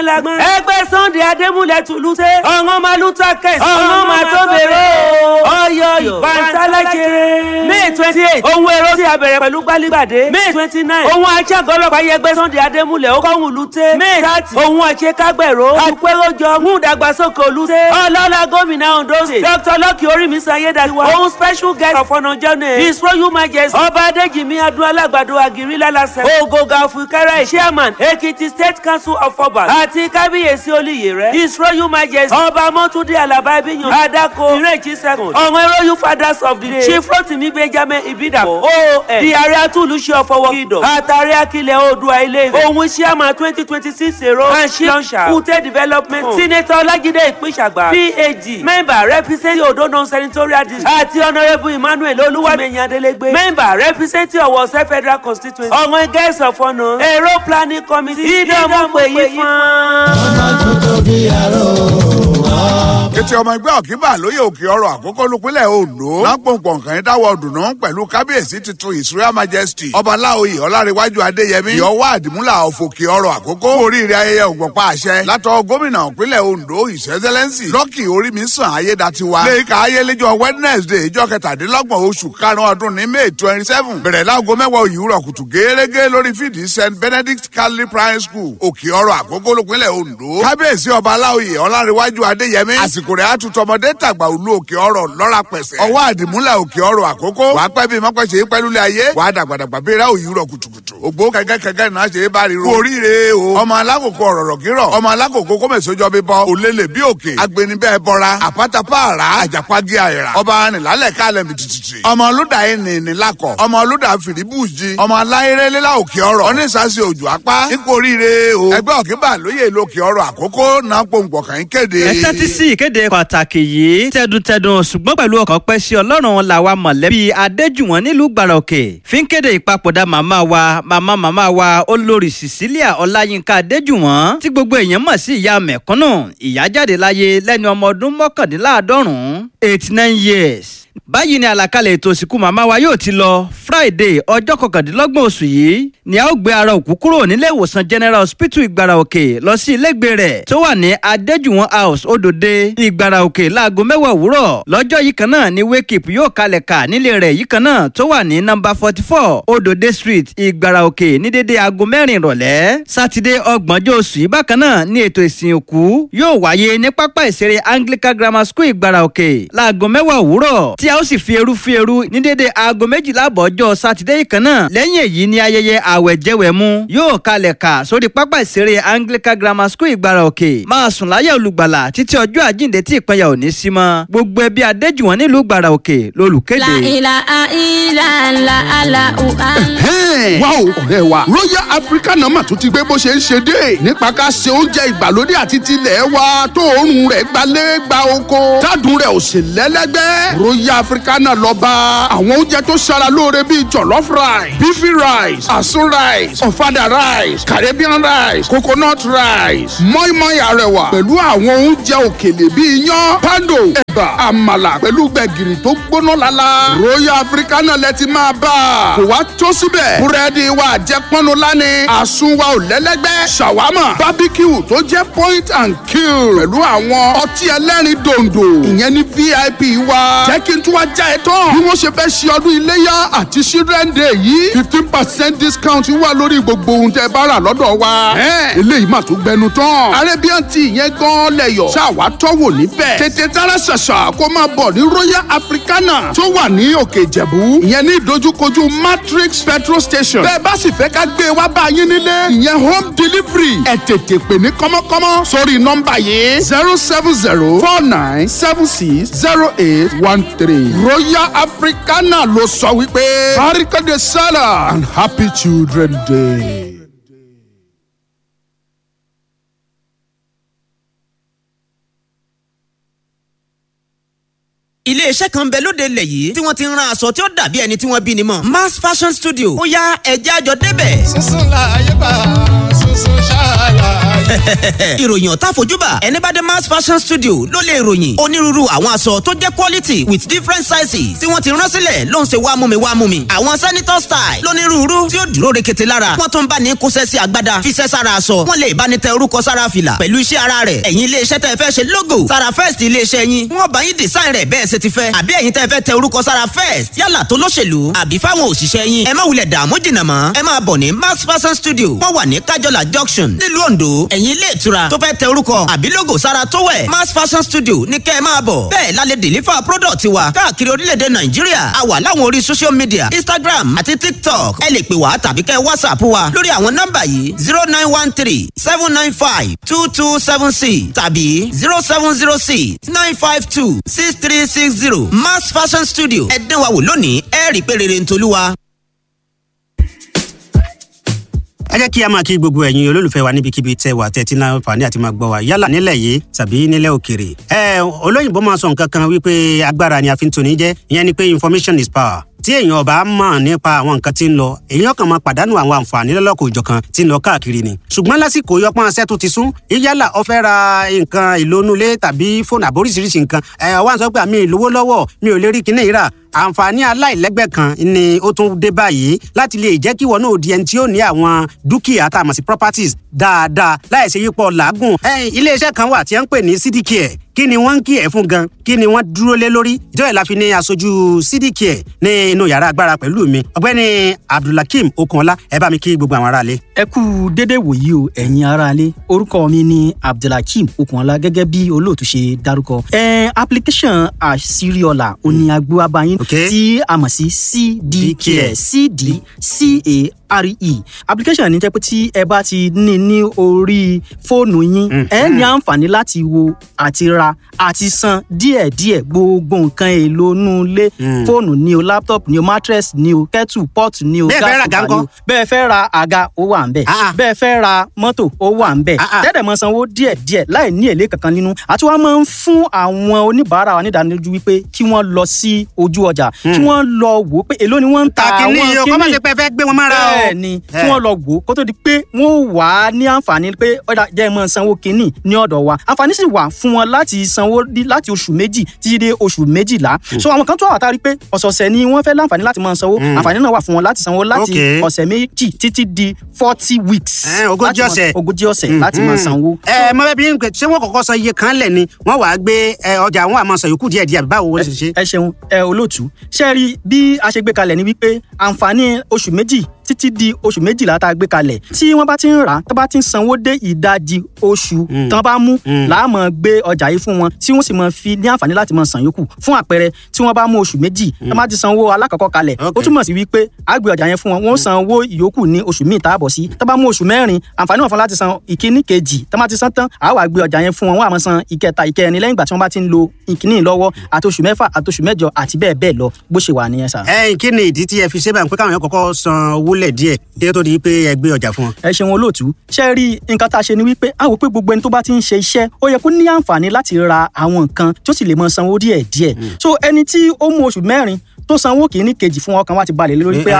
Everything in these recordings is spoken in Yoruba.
Lágbọ́n. Ẹgbẹ́ Sunday Adémúlẹ̀ Tùlùtẹ́. Ọ̀ràn máa lù takẹ̀. Ọ̀ràn máa tó bèrè o. Ọyọ Bàǹtálàjẹrẹ. May 28. Ohun èrò tí a bẹ̀rẹ̀ pẹ̀lú gbálígbàdé. May 29. Ohun aṣágọ́lọ́pàá yẹgbẹ́ Sunday Adémúlẹ̀ ó kọ́hún lùtẹ́. May 30. Ohun àṣekágbẹ̀rọ. Àpéròjọ mú ìdàgbàsókè olùtẹ́. Ọlọ́lá gómìnà Ondo State. Dr. Lucky Orímisan Ayédàtiwa. Ohun special guest of honour journey. His Royal Majesty. Ọba Adéjìmí Adún Alágbàdo Àgírí Lálásẹ̀. Ògògà Òfìkẹ́rẹ́ Chairman Ekiti State Council of Obas. Àti Kábíyèsí Olúyèrè. His Royal Majesty. Ọba Mọ́túndé Àlàbá Ibíyan. Adako Ìrèjì second. Ọ̀wọ́n Royal Fathers of the Day. Chief Rotimi Benjamin Ibidapo. OON. Di ààrẹ Atúlùṣe ọ̀fọwọ́ Kingdom. Àtàrí Akilẹ̀ Oòduà Ilé Ifẹ̀. Òun Chairman 2026 èrò. Anshi Lọ́nṣà. Kute Development. Senator Ọlájídé Ìpínṣàgbà. PAG. Member representing Odo Non-Senatorial District. Àti Honourable Emmanuel Olúwàmẹ̀yìn Adélégbé. Member representing Ọ̀wọ̀ State Federal Constituency. Ọ̀wọ̀n Guest of Honour. Èrò Planning Committee. Ìdánwò pè yí fún. Ọmọ tuntun bí aró Kété ọmọ ẹgbẹ́ ọ̀kíbà lóye òkè ọrọ̀ àkókò lópinlẹ̀ Ondo. Lápòǹpọ̀ nǹkan dáwọ́ dùnú pẹ̀lú kábíyèsí tuntun His Royal Majesty. Ọba Láoyè Ọlárẹ̀wájú Adéyẹmí. Ìyọwọ́ Àdìmúlà ọ̀fọ̀kè ọrọ̀ àkókò. Oríire ayẹyẹ ògbọ̀npa àṣẹ. Látọ̀ gómìnà ìpínlẹ̀ Ondo His Excellency. Lucky Orímisàn Ayédatiwa. Léka ayéléjọ Wednesday ìjọ kẹtàdínlọ́gbọ̀n oṣù karùn-ún ọdún ní May 27. Bẹ̀rẹ̀ láago 10 òwúrọ̀ kùtù gẹ́gẹ́ lórí fídì St Benedict Catholic Primary School. Òkè ọrọ̀ àkókò lópinlẹ̀ Ondo. Kábíyèsí ọba Láoyè Ọlárẹ̀wájú Adéyẹmí. Àsìkò rẹ̀ á tutù ọmọdé tàgbà òlu òkè ọrọ̀ lọ́ra pẹ̀sẹ̀. Ọwọ́ àdìmúlà òkè ọrọ̀ àkókò. Wàá pẹ́ bí mọ́pẹ́ ṣe é pẹ́ lulẹ̀ ayé. Wàá dàgbàdàgbà bí ra òyìnbó kùtùkùtù. Ògbó kẹ̀kẹ́ náà ṣe é bá ríro. Oríire o. Ọmọ alákòókò ọ̀rọ̀rọ̀ kírọ̀. Ọmọ alákòókò kọ́mẹ̀sọ́jọ́ bí bọ́. Òlélẹ̀ bí òkè. Agbenibẹ́ bọ́ra. Àpátápàrà. Àjàpági àìrà. Ọba arìnlálẹ̀ kálẹ̀ mìtìtìtì. Ọmọ olúdà ẹni lakọ̀. Ọmọ olúdà fìdíbùjì. Ọmọ aláìrẹ́lẹ́lá òkè ọrọ̀. Onísàsì òjò apá. Nípò oríire o. Ẹgbẹ́ òkè lóye lókè ọrọ̀ àkókò náà pòǹpọ̀ kàn ń kéde. Ẹ tẹ́tí sí ìkéde pàtàkì yìí tẹdùntẹdùn ṣùgbọ́n pẹ̀lú ọkàn pẹ́ sí ọlọ́run làwa mọ̀lẹ́bí adéjùwọ̀n nílùú gbàràkè fi ń kéde ìpapòdà màmá wa màmá màmá wa olórí Cecilia Ọláyínká Adéjùwọ̀n tí gbogbo èèyàn mọ̀ sí ìyá mẹ̀kúnnù. Ìyá jáde láyé lẹ́ni ọmọ ọdún 89, 89 years. Báyìí ni àlàkalẹ̀ ètò ìsìnkú màmá wa yóò ti lọ. Friday ọjọ́ 29 oṣù yìí ni a ó gbé ara òkú kúrò nílé ìwòsàn General Hospital Ìgbàrà Òkè lọ sí ilégbè rẹ̀ tó wà ní Adéjùwọ̀n House, Odòde, Ìgbàrà Òkè láago 10 òwúrọ̀. Lọ́jọ́ yìí kan náà ni wake up yóò kalẹ̀ kà nílé rẹ̀ yìí kan náà tó wà ní nọ́mbà 44 Odòde Street, Ìgbàrà Òkè ní dédé aago 4 ìrọ̀lẹ́. Sátidé ọgbọ̀njọ́ oṣù yìí bákan náà ni ètò ìsìn òkú yóò wáyé ní pápá ìṣeré Anglican Grammar School, Ìgbàrà Òkè láago 10 òwúrọ̀ tí a ó sì fi eru fi eru ní dédé aago 12 àbọ̀ ọjọ́ sátidé yìí kan náà. Lẹ́yìn èyí ni ayẹyẹ àwẹ̀jẹwẹ̀mu yóò kalẹ̀ kà sórí pápá ìṣeré Anglican Grammar School, Ìgbàrà Òkè. Máa sùn láyà olùgbàlà títí ọjọ́ àjíǹde tí ìpínyà ò ní sí mọ́. Gbogbo ẹbí Adéjùwọ̀n nílùú Ìgbàrà Òkè lolùkéde. La ilaha illallah. Wá o ọ̀rẹ́ wa, Royal Africa nọ́mà tún ti gbé bó ṣe ń ṣe dé nípa ká ṣe oúnjẹ ìgbàlódé àti tilẹ̀ wa tó òórùn rẹ̀ gbalẹ̀ gba oko tádùn rẹ̀ ò sì lẹ́lẹ́gbẹ́. Royal Africa náà lọ bá àwọn oúnjẹ tó ṣara lóore bíi jollof rice, beefy rice, asun rice, ọ̀fadà rice, Caribbean rice, coconut rice, mọ́ìmọ́ì arẹwà pẹ̀lú àwọn oúnjẹ òkèlè bíi iyán, pando, ẹ̀bà, àmàlà pẹ̀lú gbẹ̀gìrì tó gbóná lala. Royal Africa náà lẹ ti máa bá a. Kò wá tó síbẹ̀, búrẹ́dì wa àjẹpọ́nu lánì, àsun wa ò lẹ́lẹ́gbẹ́, ṣàwámà, barbecue tó jẹ́ point and kill pẹ̀lú àwọn ọtí ẹlẹ́rìn dòǹdò, ìyẹn ní VIP wa. Jẹ́ kí n tún wá já ẹ tán. Bí wọ́n ṣe fẹ́ ṣe ọdún iléyà àti Children Day yìí, 15% discount wà lórí gbogbo ohun tẹ́ bá rà lọ́dọ̀ wa. Eléyìí mà tún gbẹnu tán. Arabian tea yẹn gan lẹ́yọ̀. Ṣáà tọ́wò níbẹ̀. Tètè tára ṣàṣà kó máa bọ̀ ní Royal Africana tó wà ní Òkè Ìjẹ̀bú. Ìyẹn ní ìdojúkojú Matrix petrol station. Bẹ́ẹ̀ bá sì fẹ́ ká gbé wá bá yín nílé, ìyẹn home delivery, ẹ tètè pè ní kọ́mọ́kọ́mọ́ sórí nọ́mbà yìí: 07049760813. Royal Africana ló sọ wípé Barika de Salah and happy Children Day. Iléeṣẹ́ kan bẹ lóde ilẹ̀ yìí tí wọ́n ti ń ran aṣọ tí ó dàbí ẹni tí wọ́n bí ni mọ̀, Mass Fashion Studio. Ó yá, ẹ̀jẹ̀ àjọ débẹ̀. Sísun láàyè bá sísun ṣáàlà. Ìròyìn ọ̀tá fojúbà, ẹni bá dé Mass Fashion Studio ló lè ròyìn onírúurú àwọn aṣọ tó jẹ́ quality with different sizes tí wọ́n ti rán sílẹ̀ ló ń ṣe wá mú mi wá mú mi. Àwọn senator style lónírúurú tí ó dúró rekete lára, wọ́n tún bá ní kóṣẹ́ sí agbádá, fiṣẹ́ sára aṣọ, wọ́n lè bá ní tẹ orúkọ sára fìlà pẹ̀lú iṣẹ́ ara rẹ̀. Ẹ̀yin iléeṣẹ́ tẹ́ fẹ́ ṣe logo sára first iléeṣẹ́ yín, wọ́n bá yín design rẹ̀ bẹ́ẹ̀ ṣe ti fẹ́, àbí ẹ̀yin tẹ́ fẹ́ tẹ orúkọ sára first yálà tó lóṣèlú àbí fáwọn òṣìṣẹ́ yín, ẹ má wulẹ̀ dààmú jìnnà mọ́, ẹ máa bọ̀ ní Max Fashion Studio. Wọ́n wà ní Kájọlá Junction nílùú Ondo. Ẹ̀yin ilé ìtura tó fẹ́ tẹ orúkọ àbí logo sára tó wẹ̀, Max Fashion Studio ní kẹ́ ẹ máa bọ̀. Bẹ́ẹ̀ la lè deliver product wa káàkiri orílẹ̀-èdè Nàìjíríà. A wà láwọn orí social media, Instagram àti TikTok. Ẹ lè pè wá tàbí kẹ́ WhatsApp wa lórí àwọn nọ́mbà yìí: 09137952276 tàbí 07069526360. Max Fashion Studio, ẹ dán wa wò lónìí, ẹ rí i pé rere ń tolúwa. Ẹ jẹ́ kí a máa kí gbogbo ẹ̀yin olólùfẹ́ wa níbikíbi tẹ́ wà, tẹ́tí náà fàní àti máa gbọ́ wa yálà nílẹ̀ yìí tàbí nílẹ̀ òkèrè. Ẹ olóyìnbó máa sọ nǹkan kan wípé agbára ni a fi ń toni jẹ́, ìyẹn ni pé information is power. Tí èèyàn ọba mọ̀ nípa àwọn nǹkan tí ń lọ, èèyàn kan máa pàdánù àwọn àǹfààní lọ́lọ́kọ̀ òjọ̀kan tí ń lọ káàkiri ni. Ṣùgbọ́n lásìkò yọpọ́n aṣẹ́ tó ti sún, yálà ó fẹ́ ra nǹkan ìlónúlé tàbí fóònù àbóríṣiríṣi nǹkan, ẹ̀ wá ń sọ pé àmì ìlówó lọ́wọ́, mi ò lè rí kinní ìrà. Àǹfààní aláìlẹ́gbẹ́ kan ni ó tún dé báyìí láti lè jẹ́ kí wọn náà di ẹni tí ó ní àwọn dúkìá tá a mọ̀ sí properties dáadáa láì ṣe yípo làágùn. Iléeṣẹ́ kan wà tí wọ́n ń pè ní CDCare. Kí ni wọ́n ń kí ẹ̀ fún gan? Kí ni wọ́n dúró lé lórí? Ìjọba ìlàfi ní aṣojú CDCare ní inú yàrá agbára pẹ̀lú mi, ọ̀gbẹ́ni Abdulhakeem Okunọlá. Ẹ bá mi kí gbogbo àwọn aráalé. Ẹ kú dédé wòyí o, ẹ̀yin aráalé. Orúkọ mi ni Abdulhakeem Okunọlá, gẹ́gẹ́ bí olóòtú ṣe dárúkọ. Application àṣírí-ọ̀la òní agbóhábáyín tí a mọ̀ sí CDCare, CDCARE application ní jẹ́ pé tí ẹ bá ti ní ní orí fóònù yín, ẹ ní àǹfààní láti wo àti ra àti san díẹ̀díẹ̀ gbogbo nǹkan èlò inú ilé: fóònù ni o, laptop ni o, mattress ni o, kettle pot ni o, gas cooker ni o. Bẹ́ẹ̀ fẹ́ ra àga, ó wà ń bẹ̀. Bẹ́ẹ̀ fẹ́ ra mọ́tò, ó wà ń bẹ̀. Tẹ́tẹ̀ mọ́ sanwó díẹ̀díẹ̀ láì ní èlé kankan nínú. Àti wọ́n máa ń fún àwọn oníbàárà wa nídánilójú wípé kí wọ́n lọ sí ojú ọjà, kí wọ́n lọ wò ó pé èló ni wọ́n ń ta àwọn kíní. Kí ni o fẹ́ gbé wọn mára o. Bẹ́ẹ̀ ni, kí wọ́n lọ wò ó kó tó di pé wọ́n wà á ní àǹfààní pé ọ̀dà jẹ́ mọ́ sanwó kíní ní ọ̀dọ̀ wa. Àǹfààní sì wà fún wọn láti sanwó láti oṣù 2 títí dé oṣù 12. So àwọn kan tó wà tá a rí pé ọ̀sọ̀ọ̀sẹ̀ ni wọ́n fẹ́ láǹfààní láti máa sanwó, àǹfààní náà wà fún wọn láti sanwó láti ọ̀sẹ̀ 2 títí di 40 weeks. 40 ọ̀sẹ̀. 40 ọ̀sẹ̀ láti máa sanwó. Ẹ mọ bẹẹ bí n ṣé wọn kọ́kọ́ san iye kan lẹ ni wọn wàá gbé ọjà wọn àmọ́ san yòókù díẹ̀ díẹ̀, báwo wọ́n ṣe ṣe. Ẹ ṣeun ẹ olóòtú. Ṣe rí bí a ṣe gbé kalẹ̀ ni wípé àǹfààní oṣù 2 títí di oṣù 12 tá a gbé kalẹ̀, tí wọ́n bá ti ń rà á, tó bá ti ń sanwó dé ìdajì oṣù tán bá mú, làá máa gbé ọjà yìí fún wọn, tí wọ́n sì máa fi ní àǹfààní láti máa san yòókù. Fún àpẹẹrẹ, tí wọ́n bá mú oṣù 2, tán bá ti sanwó alákọ̀ọ́kọ́ kalẹ̀, ó túmọ̀ sí wípé a gbé ọjà yẹn fún wọn, wọ́n san owó ìyókù ní oṣù míì tá a bọ̀ sí. Tán bá mú oṣù 4, àǹfààní wọn fún láti san ìkíní kejì. Tán bá ti san tán, a wá gbé ọjà yẹn fún wọn, wọ́n á máa san ìkẹta, ìkẹrin lẹ́yìn ìgbà tí wọ́n bá ti ń lo ìkíní lọ́wọ́, àti oṣù 6, àti oṣù 8, àti bẹ́ẹ̀ bẹ́ẹ̀ lọ, bó ṣe wà nìyẹn sà. Ẹ kí ni ìdí tí ẹ fi ṣe báyìí pé káwọn yẹn kọ́kọ́ san owó lẹ̀ díẹ̀ kí ó tó di pé ẹ gbé ọjà fún wọn? Ẹ ṣeun olóòtú. Ṣe rí nǹkan tá a ṣe ni wípé a wò pé gbogbo ẹni tó bá ti ń ṣe iṣẹ́, ó yẹ kó ní àǹfààní láti ra àwọn nǹkan tó sì lè mọ sanwó díẹ̀ díẹ̀. So ẹni tí ó mú oṣù 4 tó sanwó kìíní kejì fún, ọkàn wa ti balẹ̀ lórí pé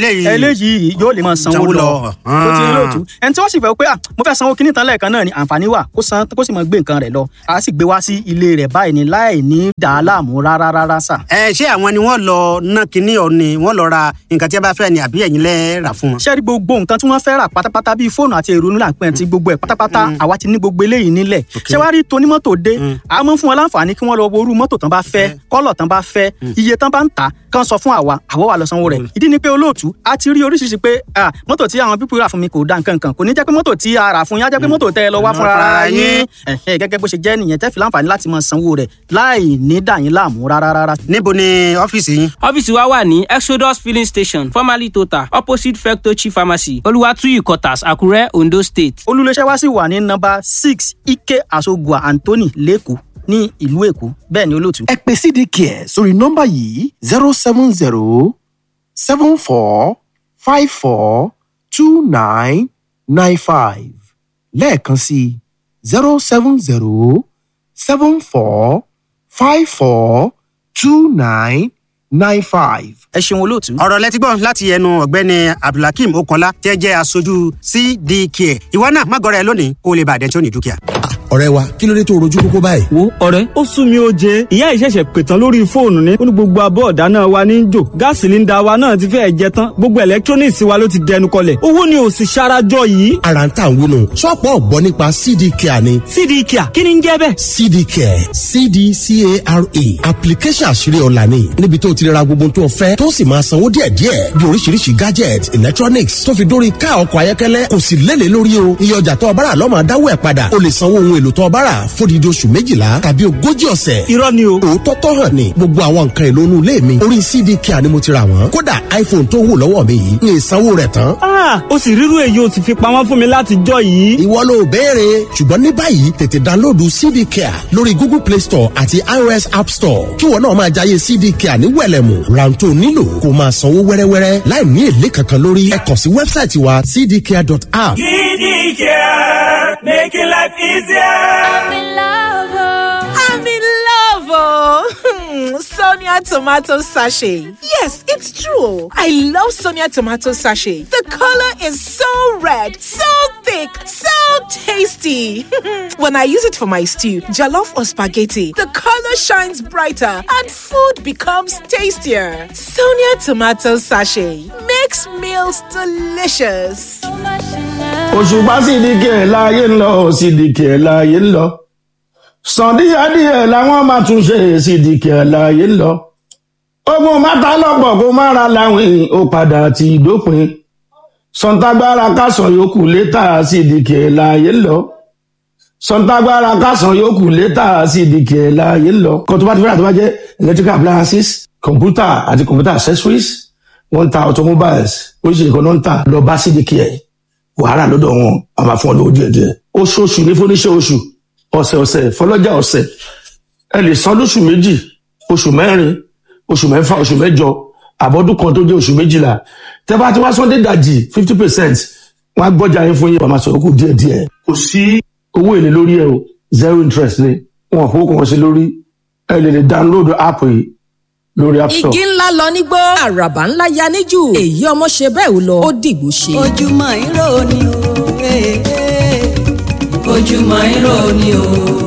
eléyìí yóò lè máa sanwó lọ. Tó ti lóòtú, ẹni tí wọ́n sì fẹ́ pé mo fẹ́ sanwó kìíní tán lẹ́ẹ̀kan náà ni, àǹfààní wà kó san, kó sì máa gbé nǹkan rẹ̀ lọ. A sì gbé wá sí ilé rẹ̀ báyìí ni láì ní dà á láàmú rárá rárá sà. Ẹ ṣé àwọn ni wọ́n lọ ná kinní ọ ni wọ́n lọ ra nǹkan tí a bá fẹ́ ni, àbí ẹ̀yin lẹ rà fún wọn? Ṣé rí gbogbo nǹkan tí wọ́n fẹ́ rà pátápátá, bíi fóònù àti èrò nílà pẹ́ ti gbogbo ẹ̀ pátápátá, àwa ti ní gbogbo eléyìí nílẹ̀. Ṣé wàá rí tonímọ́tò dé, a máa ń fún wọn láǹfààní kí wọ́n lọ wo irú mọ́tò tán bá fẹ́, kọ́lọ̀ tán bá fẹ́, iye tán bá ń tà, kán sọ fún àwa, àwa wà lọ sanwó rẹ̀. Ìdí ni pé olóòtú, a ti rí oríṣiríṣi pé mọ́tò tí àwọn pípọ̀ rà fún mi kò da nǹkan kan. Kò ní jẹ́ pé mọ́tò tí a rà fún yín á jẹ́ pé mọ́tò tẹ́ ẹ lọ wá fúnra ara yín. Gẹ́gẹ́ bó ṣe jẹ́ nìyẹn, tẹ́ fi láǹfààní láti máa sanwó rẹ̀ láì ní dà yín láàmú rárá rárá. Níbo ni ọ́fíìsì yín? Ọ́fíìsì wa wà ní Exodus Filling Station, formerly Total, opposite Fectochi Pharmacy, Olúwàtúyì Quarters, Àkúrẹ́, Ondo State. Olúléeṣẹ́ wa sì wà ní nọ́mbà 6 Ike Asogua Anthony, lẹ́kọ̀ọ́ ní ìlú Èkó. Bẹ́ẹ̀ ni olóòtú. Ẹ pè CDCare sórí nọ́mbà yìí: 07074542995. Lẹ́ẹ̀kan sí: 070745429. 95. Ẹ ṣeun, olóòtú. Ọ̀rọ̀ lẹ́tí gbọ́ láti ẹnu ọ̀gbẹ́ni Abdulhakeem Okola tẹ́ jẹ́ aṣojú CDK. Ìwọ náà má gọrẹ lónìí kó o lè bàdẹ́ tí ó ní dúkìá. Ọ̀rẹ́ wa, kí ló dé tó rojú kókó báyìí? Wo ọ̀rẹ́, ó sún mi ó jẹ. Ìyá ìṣẹ̀ṣẹ̀ pètàn lórí fóònù ní. Ó ní gbogbo abọ́ ọ̀dá náà wa ní jò, gas cylinder wa náà ti fẹ́ẹ̀ jẹ tán, gbogbo electronics wa ló ti dẹnu kọlẹ̀, owó ni ò sì ṣarajọ yìí. Ara ń tà ń wúnu, ṣọ́ọ̀pù ọ̀gbọ́n nípa CD Care ni. CD Care, kí ni ń jẹ́ bẹ́ẹ̀? CD Care, CDCARE, application àṣírí ọ̀la ni, níbi tó ti ra gbogbo tó fẹ́ tó sì máa sanwó díẹ̀díẹ̀, bí oríṣiríṣi gadget, electronics, tó fi dórí ká ọkọ̀ ayọ́kẹ́lẹ́. Kò sì lélẹ̀ lórí o. Iye ọjà tó ọbára lọ́mọ dáwọ́ ẹ̀ padà. O lè sanwó ohun èlò tó ọbára fódìdí oṣù 12 tàbí 40 ọ̀sẹ̀. Irọ́ ni o. Òótọ́ tó hàn ni, gbogbo àwọn nǹkan èlò inú ilé mi, orí CD Care ni mo ti rà wọ́n. Kódà iPhone tó wù lọ́wọ́ mi yìí, ní ìsanwó rẹ̀ tán. Ah, o sì rírú èyí o sì fi pamọ́ fún mi láti jọ yìí. Ìwọ ló béèrè, ṣùgbọ́n ní báyìí tètè download CD Care lórí Google Play Store àti iOS App Store, kí wọn náà máa jayé CD Care ní wẹ̀lẹ̀mù. Rántó nílò kó máa sanwó wẹ́rẹ́wẹ́rẹ́ láì ní èlé kankan lórí. Ẹ kàn sí website wa, cdcare.app. CD Care, making life easier. I'm in love. I'm in love, oh. Sonia tomato sachet. Yes, it's true. I love Sonia tomato sachet. The color is so red, so thick, so tasty. When I use it for my stew, jollof or spaghetti, the color shines brighter and food becomes tastier. Sonia tomato sachet makes meals delicious. Òṣùpá Sídìkì ẹ̀ láàyè ń lọ, Sídìkì ẹ̀ láàyè ń lọ, sàn díẹ̀díẹ̀ làwọn máa tún ṣe, Sídìkì ẹ̀ láàyè ń lọ. Ogun mátà lọ́pọ̀ kó má ra láwìn, ó padà ti dópin. Sọ̀ǹtàgbára kásán yòókù létà, Sídìkì ẹ̀ láàyè ń lọ. Sọ̀ǹtàgbára kásán yòókù létà, Sídìkì ẹ̀ láàyè ń lọ. Kan tó bá ti fẹ́ràn tó bá jẹ́ electrical appliances, computer àti computer accessories, wọ́n ń ta automobiles, oríṣiríṣi kan náà ń tà. Lọ bá Sídìkì ẹ̀, wàhálà lọ́dọ̀ wọn a máa fún ọ lówó díẹ̀ díẹ̀. Oṣooṣù ní fúnníṣẹ́ oṣù, ọ̀sẹ̀ ọ̀sẹ̀ fọlọ́jà ọ̀sẹ̀. Ẹ lè san lóṣù 2, oṣù 4, oṣù 6, oṣù 8, àbọ̀dún kan tó jẹ́ oṣù 12. Tẹ́ bá ti wá sọ́ndé dàjì 50%, wọ́n á gbọ́jà yín fún yín, wọ́n máa sọ̀rọ̀ kù díẹ̀ díẹ̀. Kò sí owó èlé lórí ẹ o, zero interest ni wọn kò kàn sí lórí. Ẹ lè download app yìí lórí App Store. Igi ńlá lọ nígbó, àràbà ńlá ya níjù. Èyí ọmọ ṣe bẹ́ẹ̀ ò lọ, ó dìgbò ṣe. Ojúmọ́ ìró ni o, eh, eh. Ojúmọ́ ìró ni o.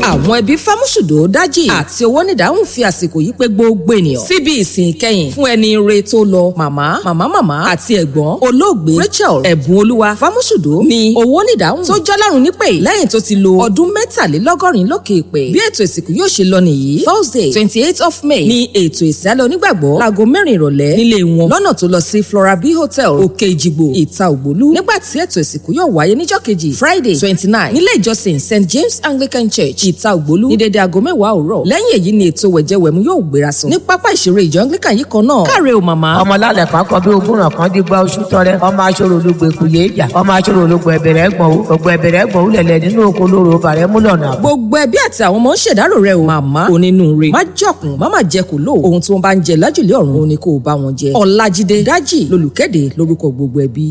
Àwọn ẹbí Fámúṣùdò Dájì àti owó nídàáhùn fi àsìkò yìí pé gbogbo ènìyàn síbi ìsìn ìkẹyìn fún ẹni ire tó lọ, màmá màmá màmá àti ẹ̀gbọ́n olóògbé Rachel Ẹ̀bùn Olúwa Fámúṣùdò ní owó nídàáhùn tó jọ́lárùn nípè lẹ́yìn tó ti lo ọdún 83 lókè èpè. Bí ètò ìsìnkú yóò ṣe lọ nìyí: Thursday 28 of May ní ètò ìsálẹ̀ onígbàgbọ́ láago 4 ìrọ̀lẹ́ nílé wọn lọ́nà tó lọ sí Flora B Hotel, Òkè Ìjìgbò, Ìta Ògbólú, nígbà tí ètò ìsìnkú yóò wáyé níjọ́ kejì, Friday 29, nílé ìjọsìn St James Anglican Church, Ìta Ògbólú, ní dédé aago 10 òwúrọ̀. Lẹ́yìn èyí ni ètò wẹ̀jẹwẹ̀mu yóò gbéra sùn ní pápá ìṣeré ìjọ Anglican yìí kan náà. Káre o, màmá. Ọmọ lálẹ́ kan kọ bí ogún ràn kan dígbà oṣù tọrẹ, ọmọ aṣọ́rò ológun èkó yé ìjà, ọmọ aṣọ́rò ológun ẹ̀bẹ̀rẹ̀ ẹ̀gbọ̀n ògbọ̀n ẹ̀bẹ̀rẹ̀ ẹ̀gbọ̀n òlẹ̀lẹ̀ nínú oko lóru bàrẹ̀ múlọ̀nà. Gbogbo ẹbí àti àwọn ọmọ ń ṣèdárò rẹ o, màmá onínúure. Má jọkùn, má má jẹ kò lò. Ohun tí wọ́n bá ń jẹ lájùlé ọ̀run òun ni kò bá wọn jẹ. Ọlájídé Dájì lolùkéde lórúkọ gbogbo ẹbí.